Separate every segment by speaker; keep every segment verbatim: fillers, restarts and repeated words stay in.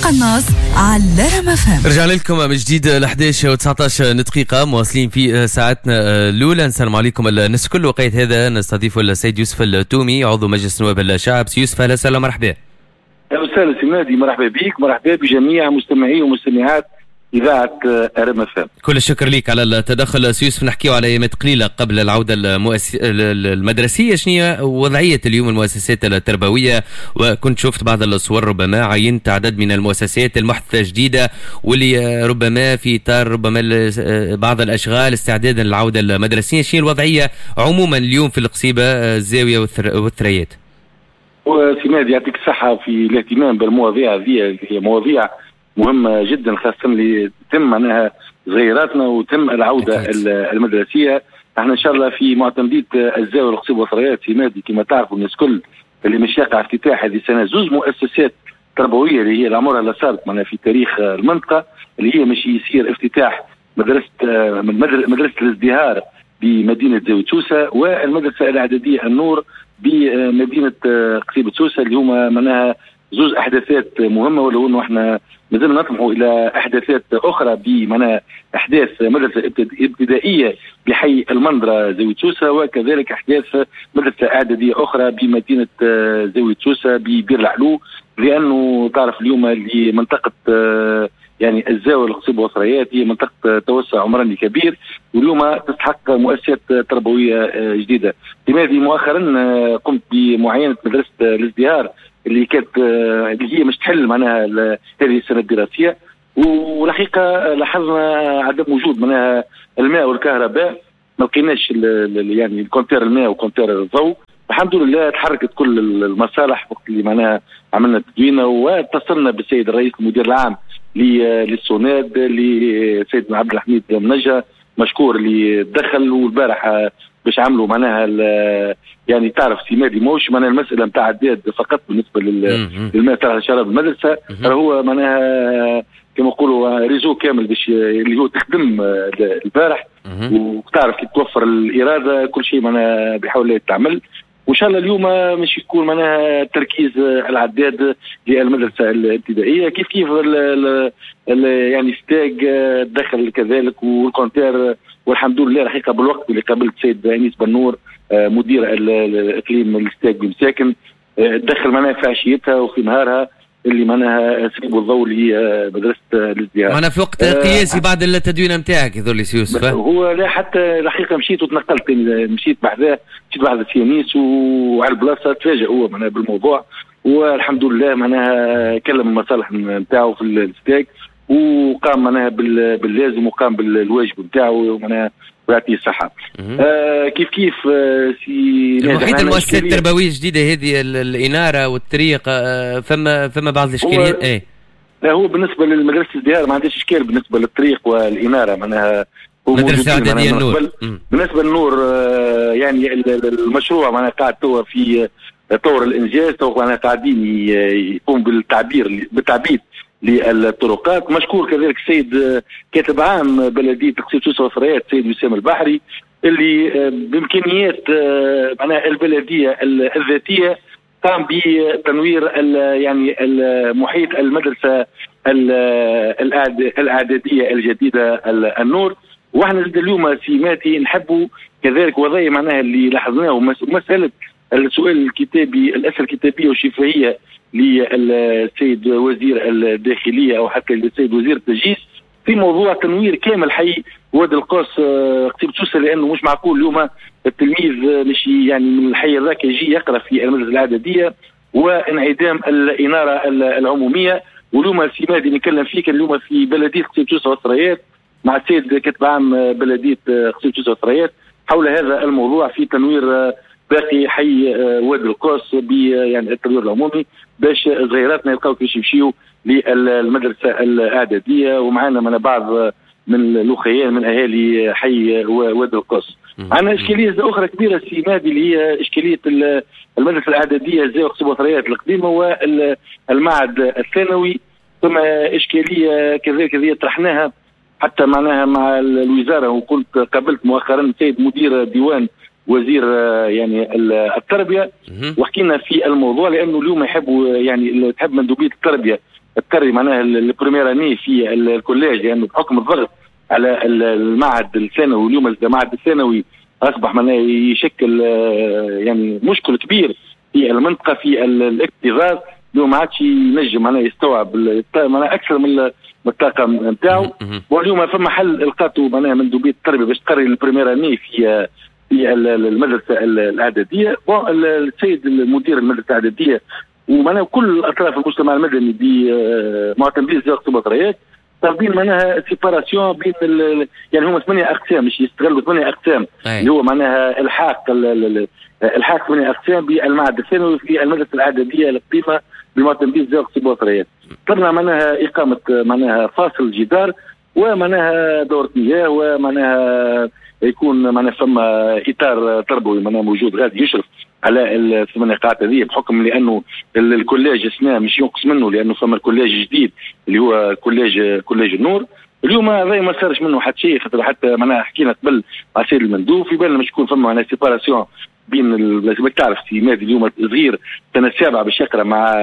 Speaker 1: القناص على رام اف ام.
Speaker 2: رجعنا لكم من جديد ل إحداش وتسعطاش دقيقة، مواصلين في ساعتنا الأولى. نسلم عليكم الناس الكل. وقيت هذا نستضيف السيد يوسف التومي عضو مجلس نواب الشعب. سي يوسف أهلا وسهلا، مرحبا.
Speaker 3: أهلا وسهلا سي مهدي، مرحبا بك، مرحبا بجميع مستمعي ومستمعات إذاعة رام اف ام.
Speaker 2: كل الشكر لك على التدخل سي يوسف. نحكيو على أيامات قليلة قبل العودة المؤس... المدرسية. شنو هي وضعية اليوم المؤسسات التربوية؟ وكنت شفت بعض الصور، ربما عينت عدد من المؤسسات المحدثة جديدة واللي ربما في إطار ربما بعض الأشغال استعدادا للعودة المدرسية. شنو الوضعية عموما اليوم في القصيبة، الزاوية والثريات؟
Speaker 3: وسي مهدي يعطيك الصحة في الاهتمام بالمواضيع هذه، هي مواضيع مهمة جدا، خاصة اللي تم معناها صغيراتنا وتم العودة أكيد. المدرسية. احنا ان شاء الله في معتمدية الزاوية والقصيبة والثريات في مادي كما تعرفوا الناس كل اللي مش يقع افتتاح هذه السنة زوز مؤسسات تربوية اللي هي العمرها اللي صارت معناها في تاريخ المنطقة، اللي هي مش يصير افتتاح مدرسة مدرسة الازدهار بمدينة زاوية سوسة والمدرسة الإعدادية النور بمدينة قصيبة سوسة، اللي هما معناها زوز احداثات مهمه، ولو انه احنا مازلنا نطمحوا الى احداثات اخرى بمعنى احداث مدرسه ابتدائية بحي المندره زاوية سوسة، وكذلك احداث مدرسه اعدادية اخرى بمدينة زاوية سوسة ببير العلو، لانه تعرف اليوم اللي منطقة يعني الزاوية القصيبه والثريات هي منطقة توسع عمراني كبير، واليوم تستحق مؤسسات تربوية جديدة. لماذا مؤخرا قمت بمعاينه مدرسه الازدهار اللي كانت اللي هي مش تحل معناها هذه السنة الدراسية، والحقيقة لاحظنا عدم وجود معناها الماء والكهرباء، ما لقيناش يعني ال compteur الماء و compteur الضوء. الحمد لله تحركت كل المصالح وقت اللي معناها عملنا تدوينه واتصلنا بالسيد الرئيس المدير العام للسوناد لسيدنا عبد الحميد منجا مشكور اللي دخل، والبارح باش عملوا معناها يعني تعرف سي مادي موش معناها المسالة نتاع عداد فقط بالنسبة للماء تاع شراب المدرسة، هو معناها كما نقولوا réseau كامل باش اللي هو تخدم البارح، وتعرف كي توفر الارادة كل شيء معناها بحول الله يتعمل. وان شاء الله اليوم مش يكون معناها تركيز العداد للمدرسة الابتدائية، كيف كيف ال ال يعني ستاج دخل كذلك وال compteur، والحمد لله الحقيقة بالوقت اللي قابلت السيد انيس بنور مدير الاقليم الستاج بمساكن دخل معناها في عشيتها وفي نهارها اللي معناها سريب الضوء اللي هي مدرسه الازدهار.
Speaker 2: معناها في وقت قياسي بعد التدوين نتاعك يظهر لي سي يوسف.
Speaker 3: هو لا حتى الحقيقة مشيت وتنقلت، مشيت بحذاه مشيت بحذا سي انيس وعلى البلاصة تفاجئ هو معناها بالموضوع، والحمد لله معناها كلم المصالح نتاعو في الستاج وقام معناها باللازم وقام بالواجب نتاعو معناها ويعطيه الصحة. آه كيف كيف آه سي
Speaker 2: المحيط المؤسسات التربوية الجديدة هذه الإنارة والطريق، آه فما فما بعض الإشكاليات. ايه
Speaker 3: لا هو بالنسبة للمدرسة الازدهار ما عندهاش إشكال بالنسبة للطريق والإنارة، معناها
Speaker 2: مدرسة إعدادية النور.
Speaker 3: بالنسبة للنور آه يعني المشروع معناها قاعد توا في طور الإنجاز، تو معناها قاعدين يقوم بالتعبير بالتعبيد للطرقات. مشكور كذلك السيد كاتب عام بلدية قصيبة سوسة والثريات السيد وسام البحري اللي بإمكانيات معناها البلدية الذاتية قام بتنوير يعني محيط المدرسة الإعدادية الجديدة النور. واحنا زاد اليوم سي ماتي نحبوا كذلك وضعية معناها اللي لاحظناه مسألة السؤال الكتابي الأسئلة الكتابية والشفهية للسيد وزير الداخلية أو حتى للسيد وزير التجهيز في موضوع تنوير كامل حي وادي القوس قصيبة سوسة، لأنه مش معقول اليوم التلميذ مش يعني من الحي هذاك يجي يقرأ في المدرسة الإعدادية وانعدام الإنارة العمومية. واليوم سي مهدي نتكلم فيك اليوم في بلدية قصيبة سوسة والثريات مع السيد كاتب عام بلدية قصيبة سوسة والثريات حول هذا الموضوع في تنوير باقي حي وادي القوس ب يعني التنوير العمومي باش صغيراتنا يلقاو كيفاش يمشيو للمدرسة الاعدادية، ومعنا من بعض من الاخيان من اهالي حي وادي القوس. عندنا اشكالية اخرى كبيرة سي مهدي اللي هي اشكالية المدرسة الاعدادية زاوية قصيبة والثريات القديمة والمعهد الثانوي، ثم اشكالية كذلك هذه طرحناها حتى معناها مع الوزارة، وكنت قابلت مؤخرا السيد مدير ديوان وزير يعني التربية وحكينا في الموضوع، لانه اليوم يحبوا يعني تحب مندوبيه التربية تقري معناها ال première année في ال collège، لانه بحكم الضغط على المعهد الثانوي، واليوم المعهد الثانوي اصبح معناها يشكل يعني مشكل كبير في المنطقة في الاكتظاظ. اليوم ما عادش ينجم معناها يستوعب معناها اكثر من الطاقم نتاعو. واليوم فما حل لقاته معناها مندوبيه التربية باش تقري ال première année في في المدرسة الاعدادية. السيد المدير المدرسة الاعدادية ومعناها كل اطراف المجتمع المدني بمعتمدين زيارة البطاريات طالبين معناها séparation بين يعني هما ثمانية اقسام، مش يستغلوا ثمانية اقسام اللي هو معناها الحاق الحاق ثمانية اقسام بالمعهد الثانوي في المدرسة الاعدادية القديمة بمعتمدين زيارة البطاريات. طلبنا معناها اقامه معناها فاصل جدار ومعناها دورة مياه، ومعناها يكون معناها فما اطار تربوي معناها موجود غادي يشرف على الثمانية قاعات هذه، بحكم لانه ال collège السنة مش ينقص منه لانه فما ال collège جديد اللي هو collège collège النور. اليوم هذا ما صارش منه حتى شيء، خاطر حتى معناها حكينا قبل مع السيد المندوب في بالنا مش يكون فما معناها séparation بين لازم تعرف سي مادي اليوم صغير سنة السابعة باش يقرا مع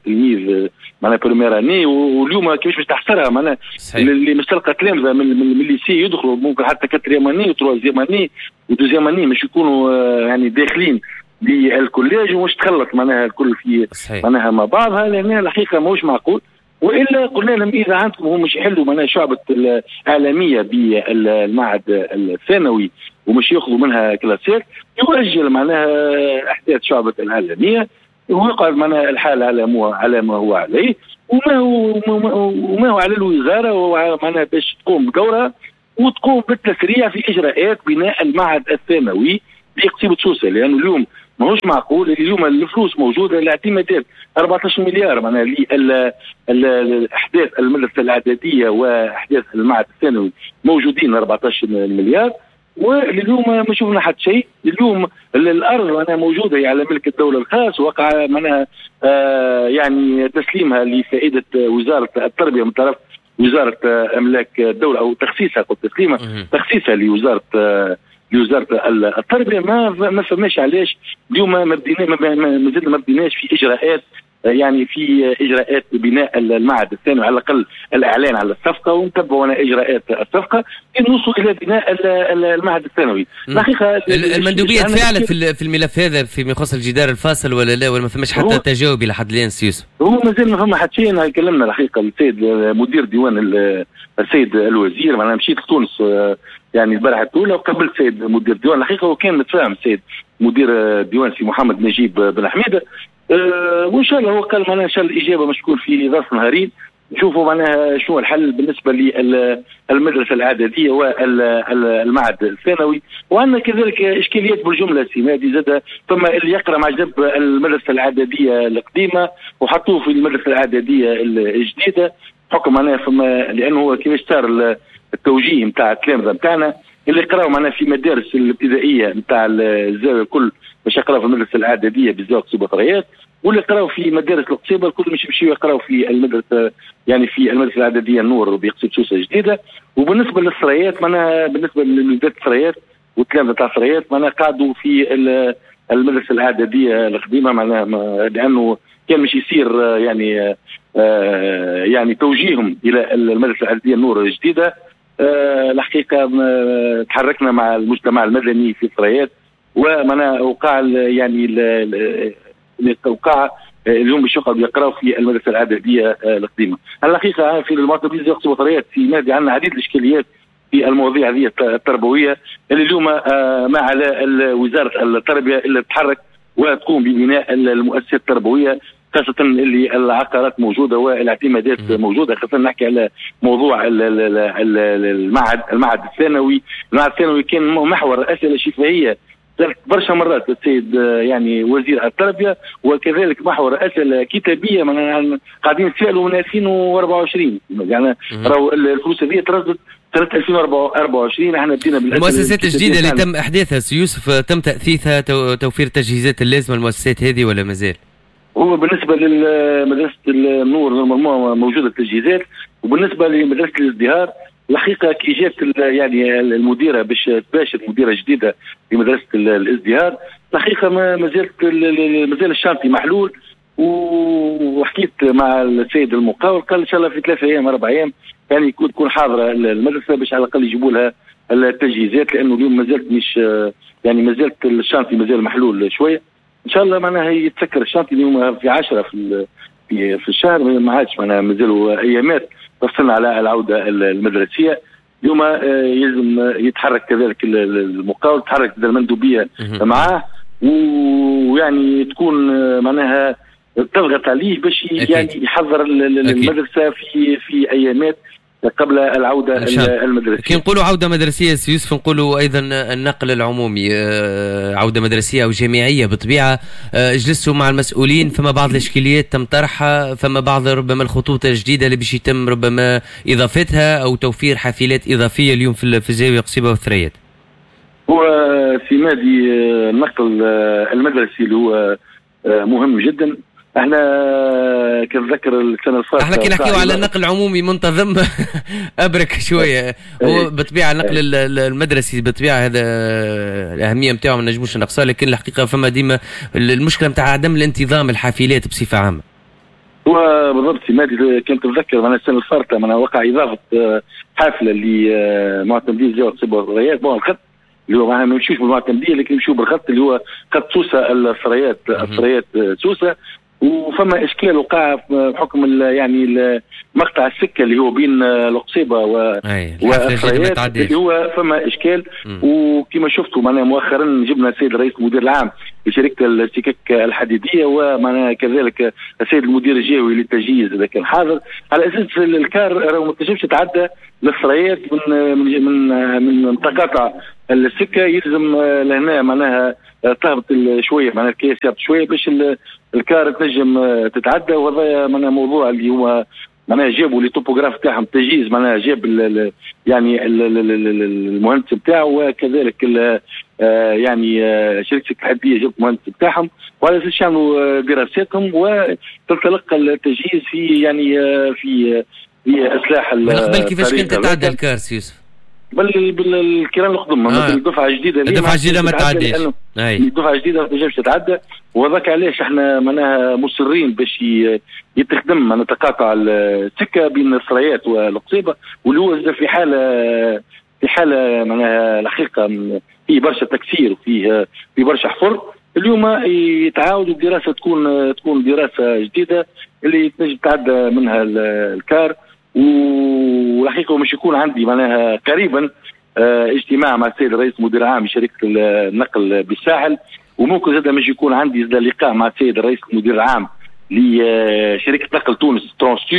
Speaker 3: تلميذ معناها première année، واليوم كيفاش باش تحصرها معناها اللي مش تلقى تلامذه من من ال lycée يدخلوا ممكن حتى quatrième année و troisième année و deuxième année مش يكونوا يعني داخلين لل collège ومش تخلط معناها الكل في صحيح. معناها مع بعضها، لان الحقيقة ماهوش معقول. والا قلنا لهم اذا عندكم هم مش يحلوا معناها شعبه الاعلامية بالمعهد الثانوي ومش ياخذوا منها كلاسات، يؤجل معناها احداث شعبه الاعلامية ويقعد معناها الحال على ما على ما هو عليه، وما هو وما هو على الوزارة ومعناها باش تقوم بدورها وتقوم بالتسريع في اجراءات بناء المعهد الثانوي بقصيبه سوسة، لانه اليوم ماهوش معقول. اليوم الفلوس موجودة، الاعتمادات أربعة عشر مليار معناها الاحداث المدرسة الاعدادية واحداث المعهد الثانوي موجودين أربعة عشر مليار، واليوم ما شفنا حتى شيء. اليوم الارض معناها موجودة على ملك الدولة الخاص، وقع معناها آه يعني تسليمها لفائدة وزارة التربية من طرف وزارة املاك الدولة، او تخصيصها، قلت تسليمها، تخصيصها لوزارة آه لوزارة التربية. ما ما فماش علاش اليوم ما بدينا ما زلنا ما بديناش في اجراءات يعني في اجراءات بناء المعهد الثانوي، على الاقل الاعلان على الصفقة ونتبعوا اجراءات الصفقة نوصل الى بناء المعهد الثانوي.
Speaker 2: الحقيقة المندوبيه تفاعلت في الملف هذا فيما يخص الجدار الفاصل ولا لا، ولا ما فماش حتى تجاوب لحد الان سي يوسف؟
Speaker 3: هو مازال ما فما حتى شيء. كلمنا الحقيقة السيد مدير ديوان السيد الوزير، معناها مشيت لتونس يعني البارحة الاولى وقابلت السيد مدير الديوان. الحقيقة هو كان متفاهم السيد مدير الديوان سي محمد نجيب بن حميده، أه وان شاء الله هو قال معناها ان شاء الله الاجابة مش تكون في ظرف نهارين، نشوفوا معناها شنو الحل بالنسبة للمدرسة الاعدادية والمعهد الثانوي. وعندنا كذلك اشكاليات بالجملة سي مادي زاد، ثم اللي يقرا مع جنب المدرسة الاعدادية القديمة وحطوه في المدرسة الاعدادية الجديدة، حكم معناها فما لانه هو كيفاش صار التوجيه نتاع التلامذه نتاعنا اللي قراوا معناها في مدارس الابتدائية نتاع الزاوية الكل باش يقراوا في المدرسة الاعدادية بالزاوية قصيبه ثريات، واللي قراوا في مدارس القصيبه الكل مش يمشيو يقراوا في المدرسة يعني في المدرسة الاعدادية النور بقصيبه سوسة الجديدة. وبالنسبة للثريات معناها بالنسبة لوليدات الثريات والتلامذه تاع الثريات معناها قعدوا في المدرسة الاعدادية القديمة، معناها لانه كان مش يصير يعني آه يعني توجيههم الى المدرسة الاعدادية النور الجديدة. أه الحقيقة تحركنا مع المجتمع المدني في الثريات، ومعناها وقع يعني وقع اليوم باش يقعدوا يقراوا في المدرسة الاعدادية القديمة. الحقيقة في المعتمدين يقصوا الثريات في نادي عندنا عديد الاشكاليات في المواضيع هذه التربوية اللي اليوم ما على وزارة التربية اللي تتحرك وتقوم ببناء المؤسسات التربوية، خاصة اللي العقارات موجودة والاعتمادات موجودة، خاصة نحكي على موضوع المعهد المعهد الثانوي. المعهد الثانوي كان محور أسئلة شفهية برشا مرات السيد يعني وزير التربية، وكذلك محور أسئلة كتابية قاعدين نسألوا من ألفين وأربعة وعشرين، يعني راهو الفلوس هذه تردد سنة ألفين وأربعة وعشرين. احنا بدينا
Speaker 2: المؤسسات الجديدة اللي تم إحداثها سي يوسف تم تأثيثها، توفير التجهيزات اللازمة للمؤسسات هذه ولا مازال؟
Speaker 3: هو بالنسبة لمدرسة النور normalement موجودة التجهيزات، وبالنسبة لمدرسة الازدهار الحقيقة كي جات يعني المديرة باش تباشر مديره جديدة لمدرسة الازدهار، الحقيقة ما زالت مازال ال chantier محلول، وحكيت مع السيد المقاول، قال ان شاء الله في ثلاثة ايام اربع ايام يعني يكون تكون حاضره المدرسة باش على الاقل يجيبوا لها التجهيزات، لانه اليوم مازالت مش يعني مازالت ال chantier مازال محلول شوية. ان شاء الله معناها يتسكر ال chantier اليوم في عشرة في في, في الشهر، ما عادش معناها مازالوا ايامات تفصلنا على العودة المدرسية. اليوم يلزم يتحرك كذلك المقاول، تحرك المندوبيه معاه، ويعني تكون معناها تضغط عليه باش يعني يحضر المدرسة في في ايامات قبل العودة المدرسية.
Speaker 2: كي نقولوا عوده مدرسيه سي يوسف نقولوا ايضا النقل العمومي، عوده مدرسيه او جامعية بالطبيعة. جلستوا مع المسؤولين، فما بعض الاشكاليات تم طرحها، فما بعض ربما الخطوط الجديدة اللي باش يتم ربما اضافتها او توفير حافلات اضافية اليوم في الزاوية قصيبه والثريات.
Speaker 3: هو سي مهدي النقل المدرسي اللي هو مهم جدا. احنا كنتذكر السنة الفاتت
Speaker 2: احنا كي نحكيو على النقل العمومي منتظم ابرك شوية، هو بالطبيعة النقل المدرسي بالطبيعة هذا الاهمية نتاعو ما نجموش نقصها، لكن الحقيقة فما ديما المشكلة نتاع عدم الانتظام الحافلات بصفة عامة.
Speaker 3: هو بالضبط سي مهدي، كنت تتذكر معناها السنة الفارطه معناها وقع اضافه حافلة لمعتمدين زاوية قصيبه والثريات، bon الخط اللي هو معناها ما يمشيوش بالمعتمديه لكن يمشيو بالخط اللي هو خط سوسة الثريات الثريات سوسة. وفما اشكال وقع بحكم يعني مقطع السكة اللي هو بين القصيبه و والثريات اللي هو فما اشكال. وكما شفتوا معناها مؤخرا جبنا السيد الرئيس المدير العام لشركة السكك الحديدية، ومعناها كذلك السيد المدير الجهوي للتجهيز اذا كان حاضر، على اساس الكار راهو ما تنجمش تتعدى للثريات من من من من تقاطع السكة، يلزم لهنا معناها تهبط شوية معناها الكيس يهبط شوية باش الكار تنجم تتعدى. وهذا معناها موضوع اللي هو معناها جابوا les topographes تاعهم تجهيز، معناها جاب ال يعني ال المهندس بتاعه، وكذلك ال يعني شركة الحديدية جابت المهندس بتاعهم، وعلى اساس يعملوا دراساتهم وتنطلق التجهيز في يعني في في اصلاح.
Speaker 2: من قبل كيفاش كنت تتعدى الكار سي يوسف؟
Speaker 3: بل بالكيران القدم، آه. الدفعة الجديدة
Speaker 2: الدفعة الجديدة ما تعديش،
Speaker 3: الدفعة الجديدة ما تنجمش تتعدى. وهذاك علاش احنا معناها مصرين باش يتخدم معناها تقاطع السكة بين الثريات والقصيبه، واللي هو في حاله في حاله معناها الحقيقة فيه برشا تكسير وفيه في برشا حفر. اليوم يتعاودوا الدراسة تكون تكون دراسة جديدة اللي تنجم تعدى منها الكار. والحقيقة مش يكون عندي معناها قريبا اجتماع مع السيد الرئيس المدير العام لشركة النقل بالساحل، وممكن زاد مش يكون عندي زاد لقاء مع السيد الرئيس المدير العام لشركة نقل تونس ترانستو،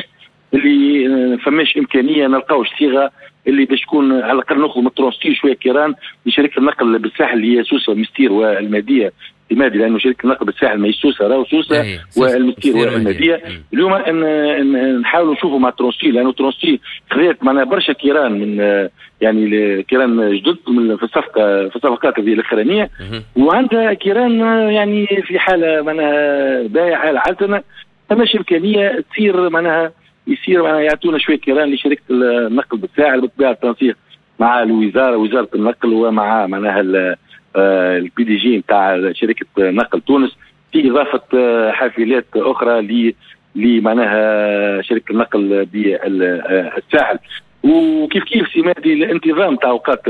Speaker 3: اللي فماش امكانية نلقاوش صيغة اللي باش تكون على الاقل ناخذ من ترانستو شوية كيران لشركة النقل بالساحل اللي هي سوسة والمستير والمادية المادي، لانه شركة النقل بالساحل ماهيش سوسة، راهو سوسة والمستير والمادية. اليوم ان نحاولوا نشوفوا مع ترانستو، لانه ترانستو خذات معناها برشا كيران من يعني كيران جدد من في الصفقة في الصفقات هذه الاخرانية، وعندها كيران يعني في حاله معناها بايعه حاله عتنه، فماش امكانية تصير معناها يصير معناها يعطونا شوية كيران لشركة النقل بالساحل، بالطبيعة التنسيق مع الوزارة وزارة النقل ومع معناها ال PDG نتاع شركة نقل تونس في اضافه حافلات اخرى ل لمعناها شركة النقل بالساحل. وكيف كيف سي مهدي الانتظام تاع اوقات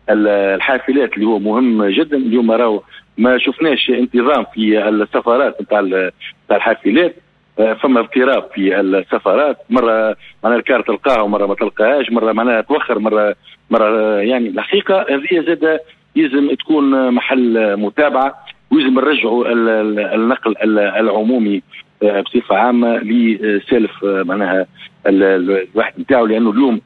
Speaker 3: الحافلات اللي هو مهم جدا. اليوم راهو ما شفناش انتظام في السفرات نتاع نتاع الحافلات، فما اضطراب في السفرات، مرة معناها الكار تلقاها ومرة ما تلقاهاش، مرة معناها توخر، مرة مرة يعني الحقيقة هذه زاد يلزم تكون محل متابعه، ويلزم نرجعوا النقل العمومي بصفة عامة لسالف معناها الواحد نتاعو، لانه اليوم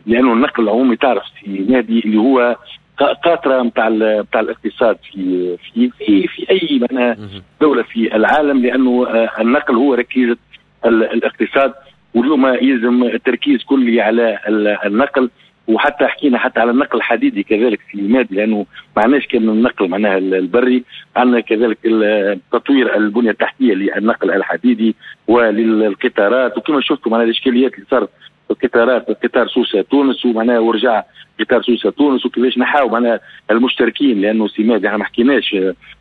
Speaker 3: لانه النقل العمومي تعرف في نادي اللي هو قاطره نتاع نتاع الاقتصاد في في في في اي معناها دولة في العالم، لانه النقل هو ركيزة الاقتصاد. واليوم يلزم التركيز كلي على النقل، وحتى حكينا حتى على النقل الحديدي كذلك في مادي، لانه ما عندناش كان النقل معناها البري، عندنا كذلك تطوير البنية التحتية للنقل الحديدي وللقطارات. وكما شفتوا معناها الاشكاليات اللي صارت القطارات، قطار سوسة تونس، ومعناها ورجع قطار سوسة تونس، وكيفاش نحاول معناها المشتركين، لانه سي مهدي احنا ما حكيناش،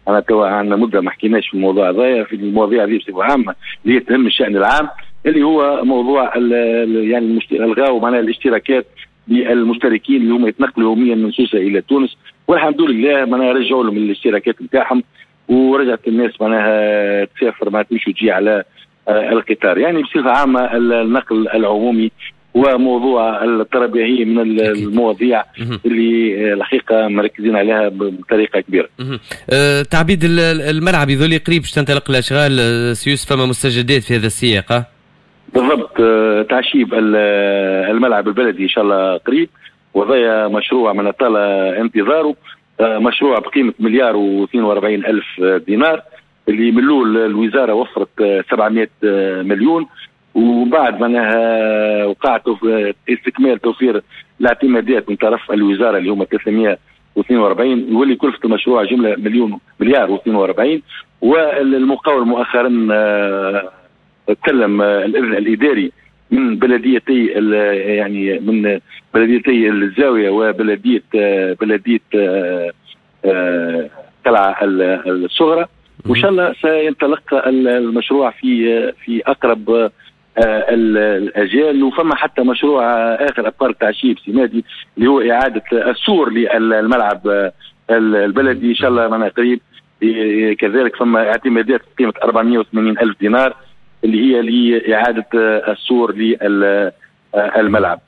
Speaker 3: انا توا عندنا مده ما حكيناش في الموضوع هذايا، في المواضيع هذه بصفة عامة اللي تهم الشان العام، اللي هو موضوع يعني الغاو معناها الاشتراكات للمشتركين اللي هما يتنقلوا يوميا من سوسة الى تونس، والحمد لله معناها رجعوا لهم الاشتراكات نتاعهم، ورجعت الناس معناها تسافر معناها تمشي وتجي على القطار. يعني بصفة عامة النقل العمومي وموضوع التربية هي من المواضيع اللي الحقيقة مركزين عليها بطريقة كبيرة.
Speaker 2: أه تعبيد الملعب يظل قريب باش تنطلق الاشغال سيوس، فما مستجدات في هذا السياق؟
Speaker 3: بالضبط، تعشيب الملعب البلدي ان شاء الله قريب، وهذا مشروع من طال انتظاره، مشروع بقيمة مليار واثنين وأربعين الف دينار، اللي من الاول الوزارة وفرت سبعمائة مليون، وبعد معناها وقع استكمال توفير الاعتمادات من طرف الوزارة اللي هما ثلاثمائة واثنين وأربعين، يولي كلفه المشروع جملة مليون مليار واثنين وأربعين. والمقاول مؤخرا تكلم الاذن الاداري من بلديتي يعني من بلديتي الزاوية وبلديه بلديه قلعه الصغرى، وان شاء الله سينطلق المشروع في في اقرب الاجال. وفما حتى مشروع اخر ابار تعشيب سمادي اللي هو اعاده السور للملعب البلدي ان شاء الله معنا قريب، كذلك فما اعتمادات بقيمة أربعمائة وثمانين الف دينار اللي هي لاعادة السور للملعب.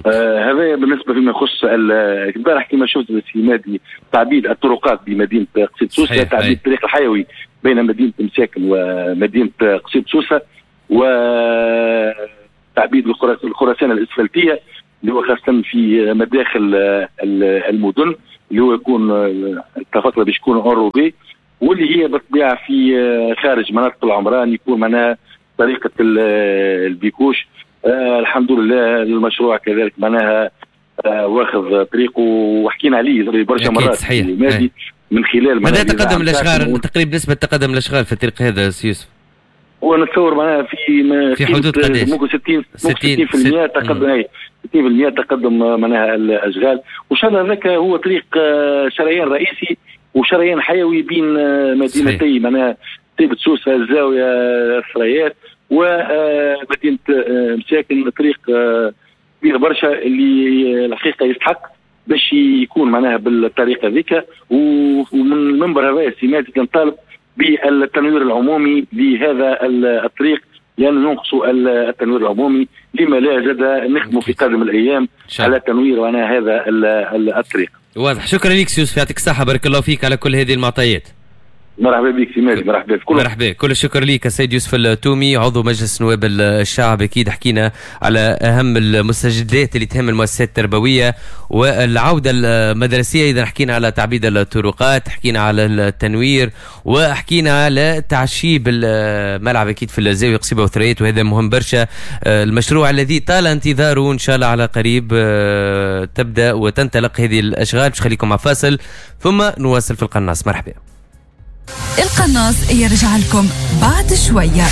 Speaker 3: آه هذا بالنسبة فيما يخص البارح كما شفت سي تعبيد الطرقات بمدينة قصيبة سوسة، تعبيد الطريق الحيوي بين مدينة مساكن ومدينة قصيبة سوسة، وتعبيد الخرسانه الاسفلتيه اللي هو خاصة في مداخل المدن اللي هو يكون اتفقنا باش يكون enrobé، واللي هي بالطبيعة في خارج مناطق العمران يكون معناها طريقه ال bicouche. آه الحمد لله المشروع كذلك معناها آه واخذ طريقه وحكينا عليه برشا مرات
Speaker 2: صحيح.
Speaker 3: من خلال
Speaker 2: مدى تقدم الاشغال تقريبا نسبه تقدم الاشغال في الطريق هذا سي يوسف؟
Speaker 3: ونتصور معناها في
Speaker 2: في حدود قداش؟
Speaker 3: ممكن ستين ستين بالمئة تقدم، اي ستين بالمئة تقدم معناها الاشغال، وان شاء الله هذاك هو طريق شريان رئيسي وشريان حيوي بين مدينتي معناها طيبة سوسة الزاوية الثريات ومدينة مساكن، طريق كبير برشا اللي الحقيقة يستحق باش يكون معناها بالطريقة ذيك. ومن المنبر هذا سي نطالب بالتنوير العمومي لهذا الطريق، لأنه ينقص التنوير العمومي، لما لا زاد نخدموا في قادم الأيام على تنوير معناها هذا الطريق.
Speaker 2: واضح، شكرا لك يوسف، يعطيك الصحة، بارك الله فيك على كل هذه المعطيات.
Speaker 3: مرحبا بك سي مهدي، مرحبا بك.
Speaker 2: مرحبا، كل الشكر لك السيد يوسف التومي عضو مجلس نواب الشعب. اكيد حكينا على اهم المستجدات اللي تهم المؤسسات التربوية والعودة المدرسية، اذا حكينا على تعبيد الطرقات، حكينا على التنوير، وحكينا على تعشيب الملعب اكيد في الزاوية قصيبه وثريات، وهذا مهم برشا. المشروع الذي طال انتظاره ان شاء الله على قريب تبدا وتنطلق هذه الاشغال. باش خليكم مع فاصل ثم نواصل في القناص. مرحبا.
Speaker 1: القناص يرجع لكم بعد شوية.